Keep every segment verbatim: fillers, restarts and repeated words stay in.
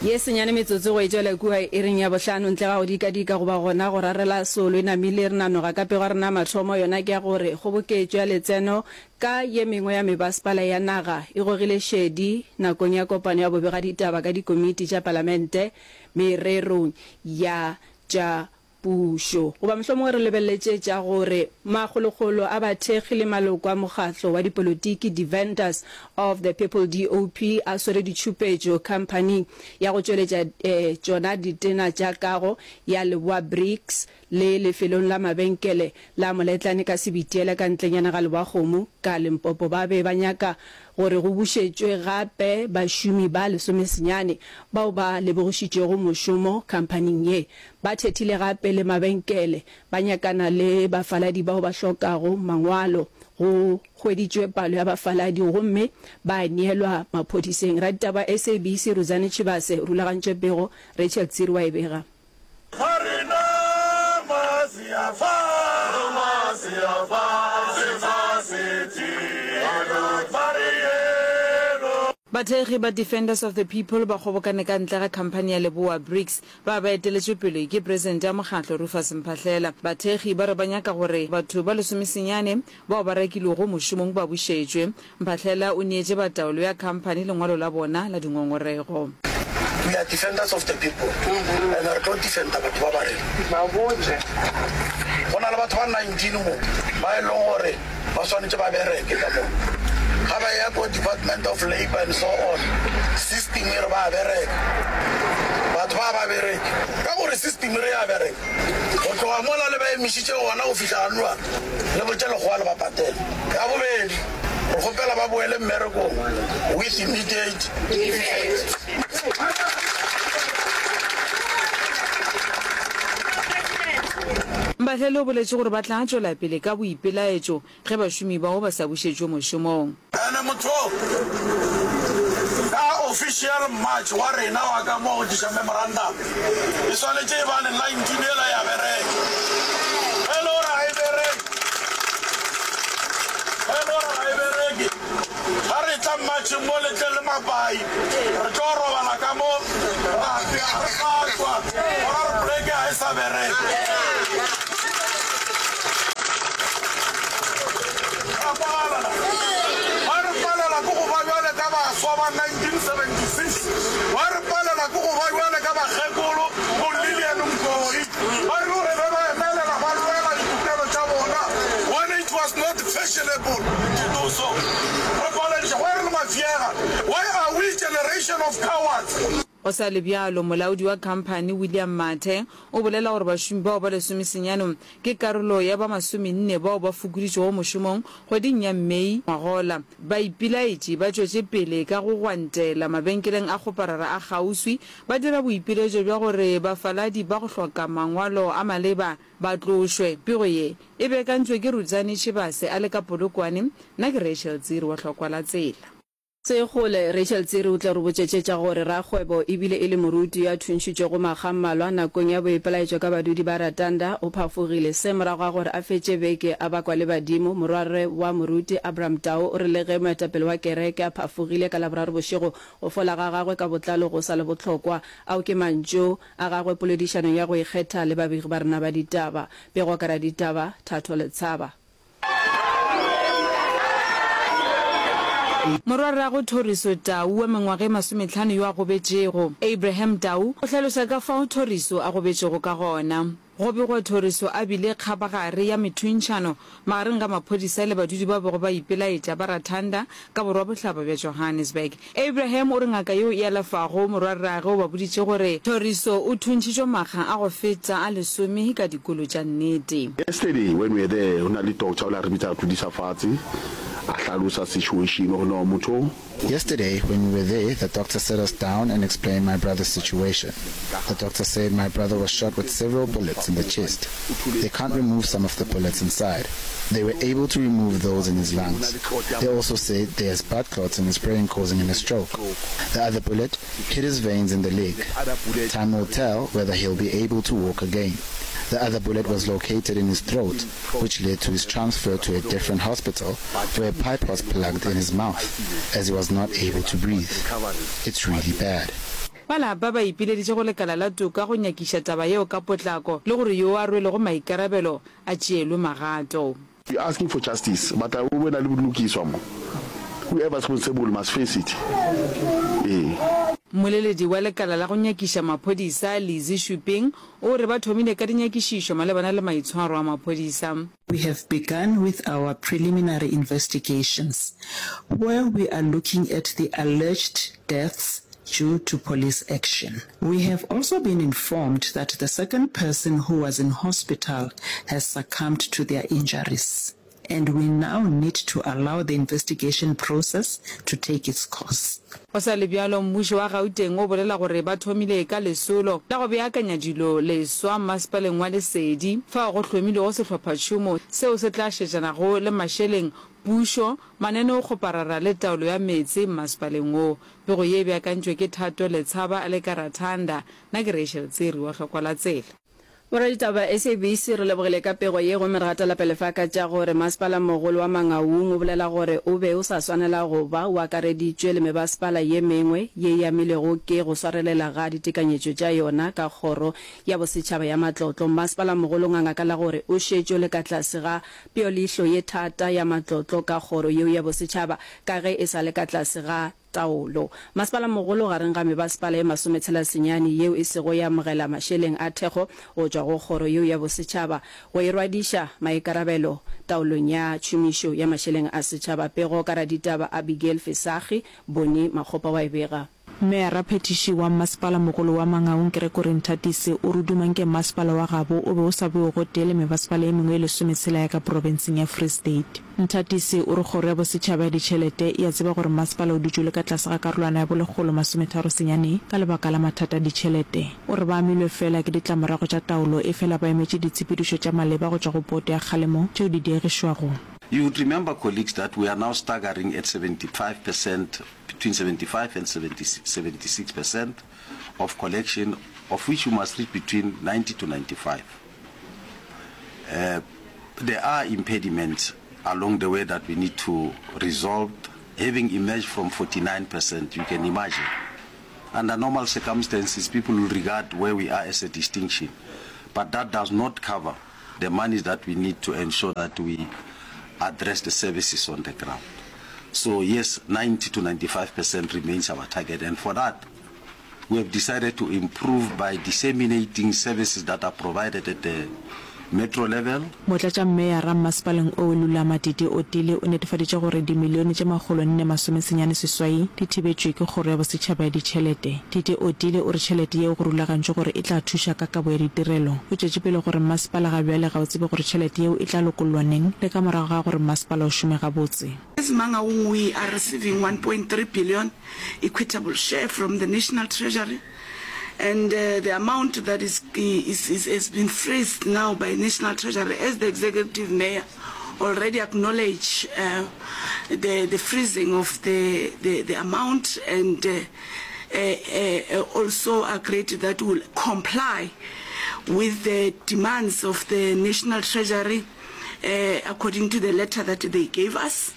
Ye senyane metsotso go e tšwela kua iring ya bohlano ntle ga go dikadika goba gona go rarela solo e namile re nanoga ka pego ya rena ya mathomo yona ke ya gore kgoboketšo ya letseno ka ye mengwe ya mebasepala ya naga e gogile šedi nakong ya kopano ya bobegaditaba ka dikomiti tša palamente mererong ya tša pušo. Goba mohlomongwe re lebeleletše tša gore makgolokgolo a bathekgi le maloko a mokgatlo wa dipolotiki Defenders of the People, D O P, a swere ditšhupetšo khamphaning ya go tšweletša tšona ditena tša kago ya Leboa Bricks le lefelong la mabenkele la Moletlane ka Sebitiela ka ntlenyana ga Lebowakgomo ka Limpopo. Ba be ba nyaka gore go bušetšwe gape bašomi ba lesomesenyane bao ba lebogišitšwego mošomo khamphaning ye. Ba thethile gape le mabenkele ba nyakana le bafaladi bao ba hlokago mangwalo. Go hweditšwe palo ya bafaladi gomme ba neelwa maphodiseng. Raditaba S A B C Rudzani Tshivhase o rulagantše pego, Rachel Tsiri wa e bega. Ga rena mase a fa, mase a fa, se fa se tee, ba re yeno. Bathekgi ba Defenders of the People ba kgobokane ka ntle ga khamphani ya Lebowa Bricks ba ba eteletšwe pele ke presidente ya mokgatlo Rufus Mphahlela. Bathekgi ba re ba nyaka gore batho ba lesomesenyane bao ba rakilwego mošomong ba bušetšwe. Mphahlela o neetše ba taolo ya khamphani lengwalo la bona la dingongorego. We are defenders of the people and re tlo defenda batho ba ba rena. Go na le batho ba nineteen mo ba e leng gore ba swanetše ba bereke ka mo. Ga ba eya ko Department of Labour and so on, system e re ba bereka. Batho ba ba bereke ka gore system e re ya bereka. Go tloga mola le ba emišitše gona go fihla ganwa le botše lekgowa le ba patele. Ya bobedi, re kgopela ba boele mmerekong with immediate effect. Mphahlele o boletše gore ba tla tšwela pele ka boipelaetšo ge bašomi bao ba sa bušetšwe mošomong. Ene motho ka official march wa rena wa ka mo go tliša memorandum e swanetše e bane nineteen yela ya bereka. Ge e le gore ga e bereke, ge e le gore ga e bereke, ga re tla marcheng mo le tle le mapai, re tlo robala ka mo, ra apea, re sa tšwa, gona re poleke ga e sa bereka. Ra kwagala na? Ba re palela ke go ba bjale ka baswa ba nineteen seventy-six. Ba re palela ke go ba bjale ka bakgekolo bo Lillian Ngoyi. Ba re gore be ba emelela ba lwela ditokelo tša bona when it was not fashionable to do so. Re palediša, why re le mafiega? Why are we generation of cowards? Go sa le bjalo, molaodi wa khamphani William Mathe o bolela gore bašomi bao ba lesomesenyane ke karolo ya ba masomenne bao ba fokoditšwego mošomong kgweding ya Mei ngwagola. Baipilaetši ba tšwetše pele ka go gwantela mabenkeleng a kgoparara a kgauswi, ba dira boipiletšo bja gore bafaladi ba go hloka mangwalo a maleba ba tlošwe. Pego ye e beakantšwe ke Rudzani Tshivhase a le ka Polokwane, nna ke Rachel Tsiri wa Hlokwa la Tsela. Sekgole Rachel Tsiri o tla re botšetše tša gore rakgwebo ebile e le moruti yo a thuntšhitšwego makga a mmalwa nakong ya boipelaetšo ka badudi ba Ratanda o phafogile. Se morago ga gore a fetše beke a bakwa le badimo. Morwarre wa moruti Abraham Tau o re le ge moetapele wa kereke a phafogile ka Laboraro bošego, go fola ga gagwe ka botlalo go sa le bohlokwa. Ao ke mantšu a gagwe poledišanong ya go ikgetha le babegi ba rena ba ditaba. Pego ka raditaba Thato Letshaba. Morwarrago Thoriso Tau wa mengwaga e masometlhano yo a gobetšego, Abraham Tau, o hlalosa ka fao Thoriso a gobetšego ka gona. Go begwa Thoriso a bile kgabagare ya methuntšhano magareng ga maphodisa le badudi bao bego ba ipelaetša ba Rathanda ka borwabohlaba bja Johannesburg. Abraham o re ngaka yeo e alafago morwarrage o ba boditše gore Thoriso o thuntšhitšwe makga a go feta a lesome ka dikolo tša nnete. Yesterday when we were there, ho na le doctor o la re bitsa a tlodisa fatshe, a hlalosa situation gore no motho o. Yesterday when we were there, the doctor sat us down and explained my brother's situation. The doctor said my brother was shot with several bullets in the chest. They can't remove some of the bullets inside. They were able to remove those in his lungs. They also said there's blood clots in his brain causing him a stroke. The other bullet hit his veins in the leg. Time will tell whether he'll be able to walk again. The other bullet was located in his throat, which led to his transfer to a different hospital where a pipe was plugged in his mouth as he was not able to breathe. It's really bad. Ba lapa ba ipileditše go lekala la toka go nyakiša taba yeo ka potlako le gore yo a rwelego maikarabelo a tšeelwe magato. We asking for justice but a go be na le bolokiswa mo whoever is responsible must face it ee. Mmoleledi wa lekala la go nyakiša maphodisa, Lizzy Shuping, o re ba thomile ka dinyakišišo malebana le maitshwaro a maphodisa. We have begun with our preliminary investigations where we are looking at the alleged deaths due to police action. We have also been informed that the second person who was in hospital has succumbed to their injuries and we now need to allow the investigation process to take its course. Go sa le bjalo, mmušo wa Gauteng o bolela gore ba thomile ka lesolo la go beakanya dilo leswa mmasepaleng wa Lesedi, fao go hlomilwego sehlophatšhomo seo se tla šetšanago le mašeleng, pušo, mananeokgoparara le taolo ya meetse mmasepaleng wo. Pego ye e beakantšwe ke Thato Letshaba le Karathanda. Nna ke Rachel Tsiri wa Hlokwa la Tsela. Boraditaba ba S A B C re lebogile ka pego ye gomme re gatela pele fa ka tša gore Masepala-mogolo wa Mangaung o bolela gore o be o sa swanela go ba o akareditšwe le mebasepala ye mengwe ye e amilwego ke go swarelela ga ditekanyetšo tša yona ka Kgoro ya Bosetšhaba ya Matlotlo. Masepala-mogolo o nganga ka la gore o šetše o le ka tlase ga peoleihlo ye thata ya matlotlo ka Kgoro yeo ya Bosetšhaba ka ge e sa le ka tlase ga taolo. Masepala-mogolo gareng ga mebasepala ye masometshela senyane yeo e sego ya amogela mašeleng a thekgo go tšwa go Kgoro yeo ya Bosetšhaba go e rwadiša maikarabelo taolong ya tšhomišo ya mašeleng a setšhaba. Pego ka raditaba Abigail Fesagi, Bonnie Makgopa wa e bega. Meyara-phethiši wa Mmasepala-mogolo wa Mangaung Gregory Nthatisi o re duma nke mmasepala wa gabo o be o sa bewe gotee le mebasepala ye mengwe ye lesometshela ya ka profenseng ya Free State. Nthatisi o re Kgoro ya Bosetšhaba ya Ditšhelete e a tseba gore mmasepala o dutše o le ka tlase ga karolwana ya bolekgolo masometharo senyane ka lebaka la mathata a ditšhelete. O re ba amilwe feela ke ditlamorago tša taolo efela ba emetše ditshepedišo tša maleba go tšwa go Boto ya Kgalemo tšeo di diegišwago. You would remember, colleagues, that we are now staggering at seventy-five percent, between seventy-five and seventy-six percent of collection, of which we must reach between ninety to ninety-five. Uh, there are impediments along the way that we need to resolve. Having emerged from forty-nine percent, you can imagine. Under normal circumstances, people will regard where we are as a distinction. But that does not cover the monies that we need to ensure that we address the services on the ground. So yes, ninety to ninety-five percent remains our target. And for that, we have decided to improve by disseminating services that are provided at the metro level. Motlatšammeyara mmasepaleng oo Lulama Titi Otile o netefaditše gore dimilione tše makgolo nne masomesenyane seswai di thibetšwe ke Kgoro ya Bosetšhaba ya Ditšhelete. Titi Otile o re tšhelete yeo go rulagantšwe gore e tla thuša ka kabo ya ditirelo. O tšwetše pele gore mmasepala ga bjale ga o tsebe gore tšhelete yeo e tla lokollwa neng le ka morago ga gore mmasepala o šome gabotse. As Mangaung, we are receiving one point three billion equitable share from the National Treasury. And uh, the amount that is, is, is, has been freezed now by National Treasury, as the Executive Mayor already acknowledged uh, the, the freezing of the, the, the amount and uh, uh, uh, also agreed that will comply with the demands of the National Treasury uh, according to the letter that they gave us.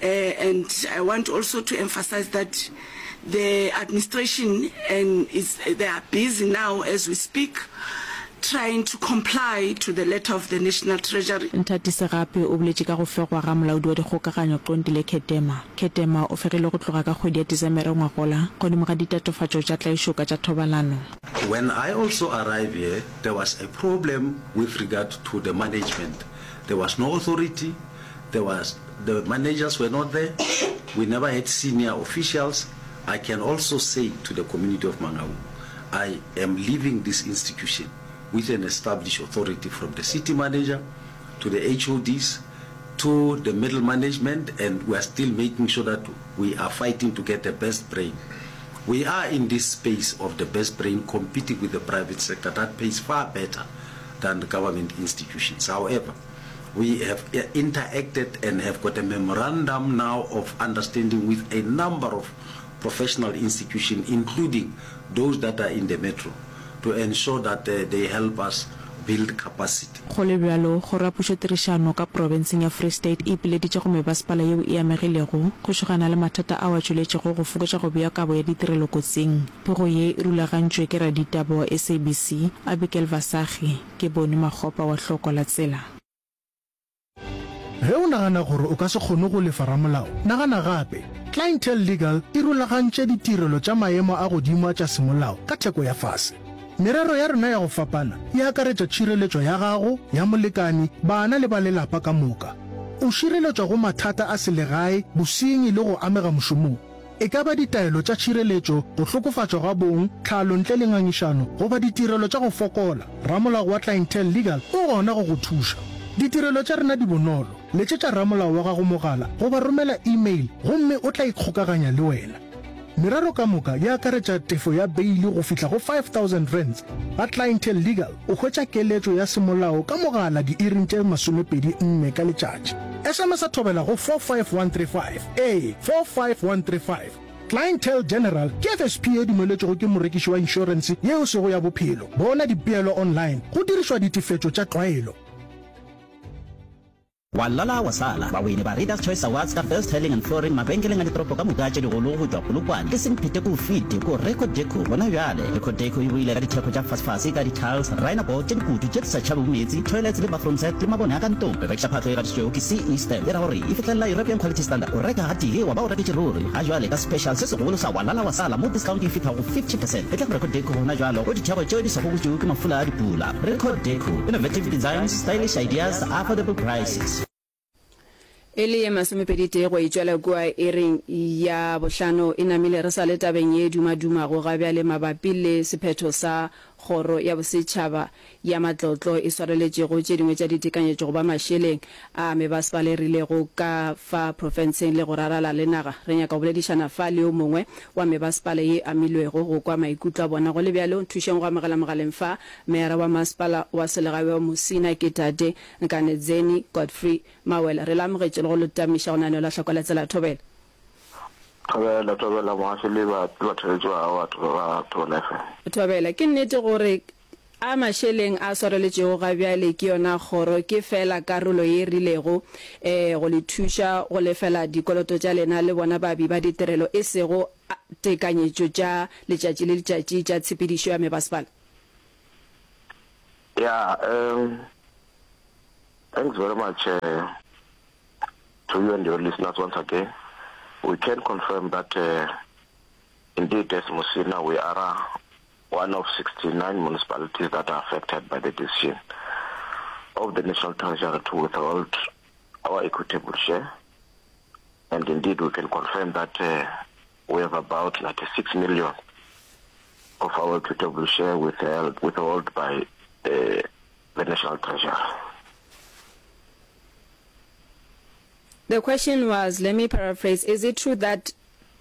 Uh, and I want also to emphasize that the administration and is, they are busy now as we speak trying to comply to the letter of the National Treasury. Nthatisi gape o boletše ka go fegwa ga molaodi wa dikgokaganyo Qondile Khedema. Khedema o fegilwe go tloga ka kgwedi ya Desemere ngwagola godimo ga ditatofatšo tša tlaišo ka tša thobalano. When I also arrived here, there was a problem with regard to the management. There was no authority. There was the managers were not there. We never had senior officials. I can also say to the community of Mangaung, I am leaving this institution with an established authority from the city manager to the H O Ds to the middle management, and we are still making sure that we are fighting to get the best brain. We are in this space of the best brain competing with the private sector that pays far better than the government institutions. However, we have interacted and have got a memorandum now of understanding with a number of professional institutions, including those that are in the metro, to ensure that uh, they help us build capacity. Go le bjalo, Kgoro ya Pušotirišano ka profenseng ya Free State e ipileditše go mebasepala yeo e amegilego go šogana le mathata ao a tšweletšego go fokotša go bea kabo ya ditirelo kotsing. Pego ye e rulagantšwe ke raditaba wa S A B C, Abigail Vasagi, ke Boni Makgopa wa Hloko la Tsela. Ge o nagana gore o ka se kgone go lefa ramolao, nagana gape. Clientele Legal e rulagantše ditirelo tša maemo a godimo a tša semolao ka theko ya fase. Merero ya rena ya go fapana e akaretša tšhireletšo ya gago, ya molekane, bana le ba lelapa ka moka. O šireletšwa go mathata a selegae, bosenyi le go amega mošomong. E ka ba ditaelo tša tšhireletšo, go hlokofatšwa ga bong, tlhalo ntle le ngangišano goba ditirelo tša go fokola, ramolao wa Clientele Legal o gona go go thuša. Ditirelo tša rena di bonolo. Letšetša ramolao wa gago mogala goba romela email gomme o tla ikgokaganya le wena. Merero ka moka e akaretša tefo ya beili go fihla go five thousand rands. Ga Clientele Legal o hwetša keletšo ya semolao ka mogala diiring tše masomepedi nne ka letšatši. S M S a thobela go four five one three five, ee, four five one three five. Clientele General ke F S P ye dumeletšwego ke morekiši wa inšorense ye e sego ya bophelo. Bona dipeelo online go dirišwa ditefetšo tša tlwaelo. Wa lala wa sala. Bawini ba Readers Choice Awards ka Best Tiling and Flooring mabenkeleng a ditoropo ka moka tše digolo go tšwa Polokwane ke Semphete ko fete ko Record Deco gona bjale. Record Deco e boile ka ditheko tša fasefase ka di-tiles, rhino board tše dikutu tše di sa tšhabego meetse, toilets le bathroom set le mabone a ka ntlong. Re rekiša phahlo e gatišitšwego ke C E Stamp e ra gore e fihlelela European Quality Standard. O reka gatee wa ba o reketše ruri. Ga jwale ka special se segolo sa wa lala wa sala mo discount e fihlago go fifty percent. Etla go Record Deco gona jwalo go ditheko tšeo di sa gobotšwego ke mafula a dipula. Record Deco, innovative designs, stylish ideas, affordable prices. E le ye masomepedi-tee go e tšwela kua iring ya bohlano e namile re sa le tabeng ye e dumadumago ga bjale mabapi le sephetho sa Kgoro ya Bosetšhaba ya Matlotlo e swareletšego tše dingwe tša ditekanyetšo goba mašeleng a mebasepala e rilego ka fa profenseng le go rarala le naga. Re nyaka go boledišana fa le yo mongwe wa mebasepala ye e amilwego go kwa maikutlo a bona. Go le bjalo, nthušeng go amogela mogaleng fa Meyara wa Masepala wa Selegae wa Musina ke Tate Nkanedzeni Godfrey Mawela. Re le amogetše le go le tamiša go lenaneo la Hloko la Tsela. Thobela. Thobela, thobela mogaši le ba, le batheeletši ba gago batho ba Thobela F M. Thobela, ke nnete gore a mašeleng a swareletšego ga bjale ke yona kgoro ke feela karolo ye e rilego e go le thuša go lefela dikoloto tša lena le bona baabi ba ditirelo e sego tekanyetšo tša letšatši le letšatši tša tshepedišo ya mebasepala? Yeah, um, thanks very much, uh, to you and your listeners once again. We can confirm that, uh, indeed as Musina we are one of sixty-nine municipalities that are affected by the decision of the National Treasury to withhold our equitable share. And indeed we can confirm that, uh, we have about ninety-six million of our equitable share withheld, withheld by, uh, the National Treasury. The question was, let me paraphrase, is it true that,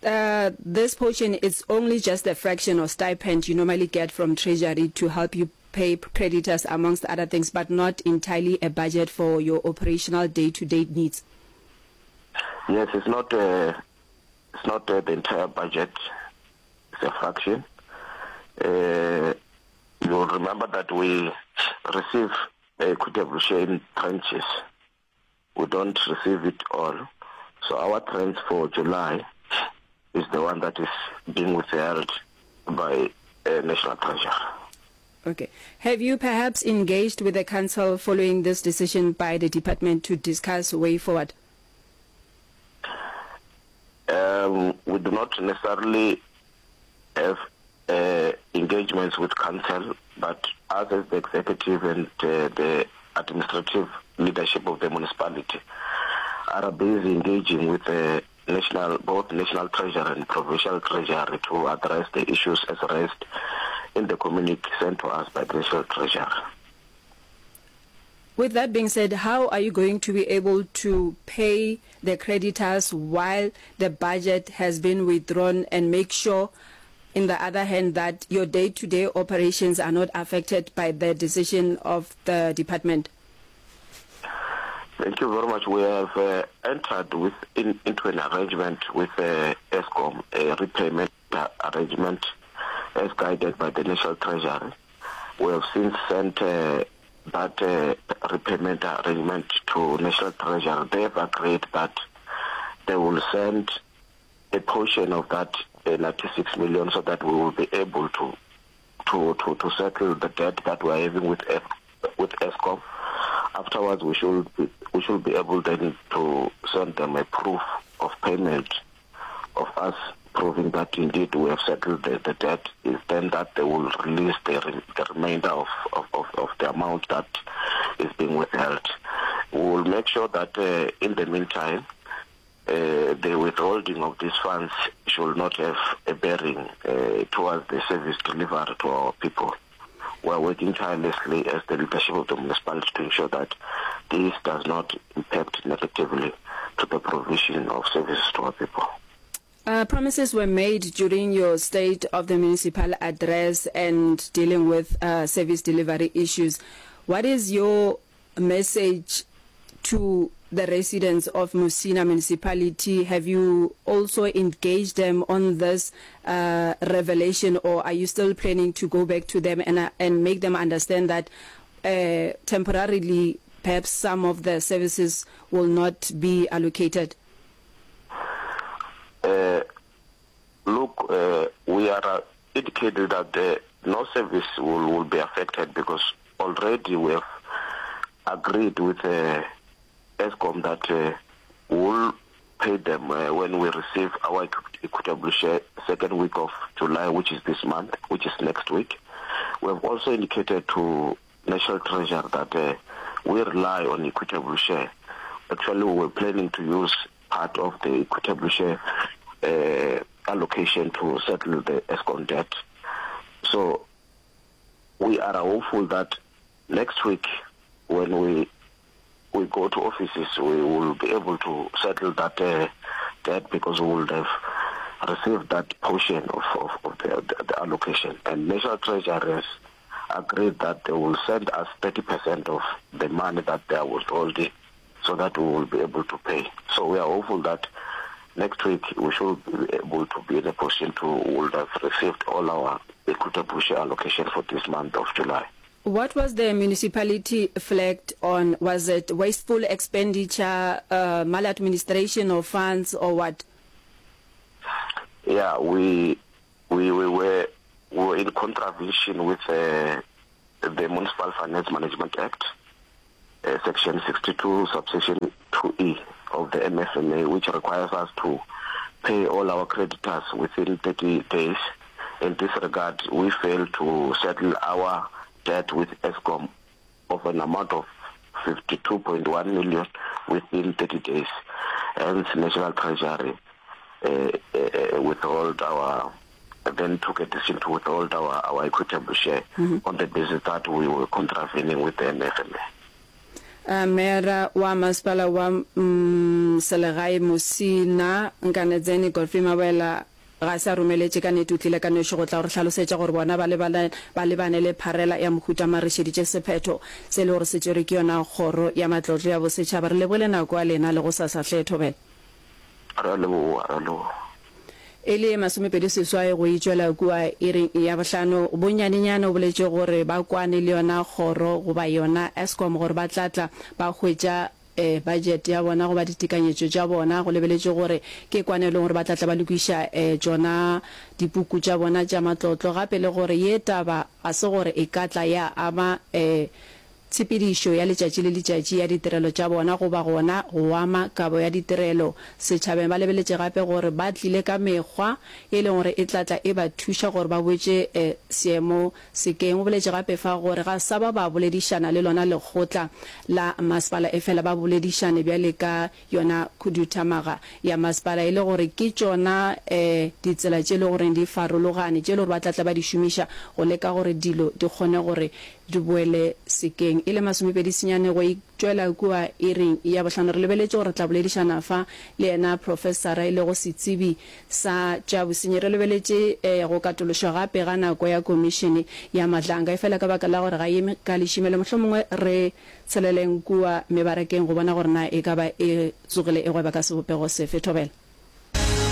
uh, this portion is only just a fraction of stipend you normally get from Treasury to help you pay creditors amongst other things, but not entirely a budget for your operational day-to-day needs? Yes, it's not, uh, it's not, uh, the entire budget, it's a fraction. Uh, you'll remember that we receive equitable share in tranches. We don't receive it all. So our trends for July is the one that is being withheld by, uh, National Treasury. Okay. Have you perhaps engaged with the council following this decision by the department to discuss way forward? Um, we do not necessarily have, uh, engagements with council, but us as the executive and, uh, the administrative leadership of the municipality are busy engaging with the national, both National Treasury and Provincial Treasury to address the issues as raised in the communique sent to us by the National Treasury. With that being said, how are you going to be able to pay the creditors while the budget has been withdrawn and make sure, in the other hand, that your day-to-day operations are not affected by the decision of the department? Thank you very much. We have, uh, entered with in, into an arrangement with, uh, Eskom, a repayment arrangement as guided by the National Treasury. We have since sent, uh, that uh, repayment arrangement to National Treasury, they have agreed that they will send a portion of that uh, ninety-six million so that we will be able to, to, to, to settle the debt that we are having with F, with Eskom. Afterwards, we should be, we should be able then to send them a proof of payment of us proving that indeed we have settled the, the debt. Is then that they will release the, re-, the remainder of, of, of, of the amount that is being withheld. We will make sure that, uh, in the meantime, uh, the withholding of these funds should not have a bearing, uh, towards the service delivered to our people. We are working tirelessly as the leadership of the municipality to ensure that this does not impact negatively to the provision of services to our people. Uh, promises were made during your State of the Municipal address and dealing with, uh, service delivery issues. What is your message to the residents of Musina municipality? Have you also engaged them on this, uh, revelation, or are you still planning to go back to them and, uh, and make them understand that, uh, temporarily perhaps some of the services will not be allocated? Uh, look, uh, we are, uh, indicated that the no service will, will be affected because already we have agreed with, uh, Eskom that, uh, we'll pay them, uh, when we receive our equi-, equitable share second week of July, which is this month, which is next week. We have also indicated to National Treasury that, uh, we rely on equitable share. Actually, we were planning to use part of the equitable share, uh, allocation to settle the Eskom debt. So we are hopeful that next week, when we, we go to offices, we will be able to settle that, uh, debt because we will have received that portion of, of, of the, the, the allocation. And National Treasury has agreed that they will send us thirty percent of the money that they are withholding so that we will be able to pay. So we are hopeful that next week we should be able to be in a position to would have received all our equitable share allocation for this month of July. What was the municipality flagged on? Was it wasteful expenditure, uh, maladministration of funds, or what? Yeah, we, we, we were, we were in contravention with, uh, the Municipal Finance Management Act, uh, Section sixty-two, subsection two E of the M F M A, which requires us to pay all our creditors within thirty days. In this regard, we failed to settle our debt with Eskom of an amount of fifty-two point one million within thirty days. Hence, National Treasury, uh, uh, uh, withhold our, then took a decision to withhold our, our equitable share Mm-hmm. on the basis that we were contravening with the M F M A. Uh, Mayor wa masepala wa, mm, Selegae Musina Nkanedzeni Godfrey Mawela ga sa romeletše ka nnete, o tlile ka noši go tla gore hlalosetša gore bona ba lebane, ba lebane le pharela ya mohuta marišeditše sephetho se le gore se tšerwe ke yona kgoro ya matlotlo ya bosetšhaba. Re lebogile nako ya lena le go sasa hle, Thobela. Re a leboga, re a leboga. E le masomepedi seswai go itšwela kua iring ya bohlano. Bonyanenyane o boletše gore ba kwane le yona kgoro goba yona Eskom gore ba tla tla ba hwetša, eh, budget ya bona goba ditekanyetšo tša bona, go lebeletše gore ke kwane e leng gore ba tla tla ba lokiša, eh, tšona dipuku tša bona tša matlotlo, gape le gore ye taba ga se gore e ka tla ya ama, eh, tshepedišo ya letšatši le letšatši ya ditirelo tša bona goba gona go ama kabo ya ditirelo setšhabeng. Ba lebeletše gape gore ba tlile ka mekgwa e leng gore e tla tla e ba thuša gore ba boetše, eh, seemo sekeng. O boletše gape fa gore ga sa ba ba boledišana le lona lekgotla la masepala, e fela ba boledišane bjale ka yona khuduthamaga ya masepala, e le gore ke tšona, eh, ditsela tše e le goreng di farologane tše e le gore ba tla tla ba di šomiša go leka gore dilo di kgone gore di boele sekeng. E le masomepedi senyane go itšwela kua iring ya bohlano. Re lebeletše gore tla boledišana fa le yena professora e lego setsebi sa tša bosenyi. Re lebeletše, eh, go katološwa gape ga nako ya komišene ya Madlanga, e fela ka baka la gore ga e eme ka lešimelo, mohlomongwe re tsheleleng kua mebarakeng go bona gore na e ka ba e tsogile e gweba ka sebopego sefe. Thobela.